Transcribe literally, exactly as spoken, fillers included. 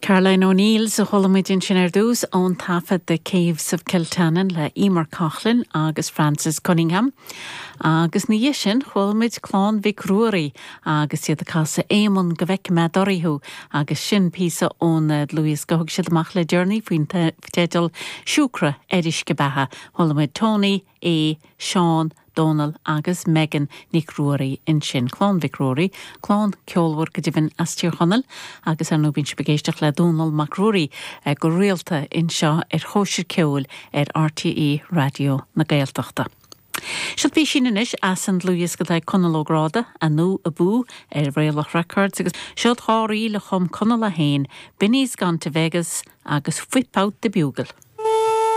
Caroline O'Neill a chuala muid ansin ar dtús ón taifead The Caves of Kiltannon le Emer Coughlin agus Francis Cunningham. Agus ina dhiaidh sin chuala muid Clann Mhic Ruairí agus iad ag casadh Éamonn go bhfeice mé anuraidh thú agus sin píosa ón dlúthdhiosca a thug siad amach le deireanaí faoin teideal Siúcra ar Uisce Beatha. Chuala muid Tony, A, Seán, Donal agus Megan Nic Ruairí ansin Clann Mhic Ruairí, clann ceolmhar go deimhin as Tír Chonaill agus ar ndóigh bíonn sibh ag éisteacht le Dónal Mac Ruairí eh, go rialta anseo ar Chóisir Ceoil ar RTÉ Raidió na Gaeltachta. Seo píosa anois as an dlúthdhiosca atá Conal Ó Gráda Anú Abú ar Réalach Records agus seo dhá ríl a chum Conal é féin, Binny's Gone to Vegas agus Whip Out the Bugle.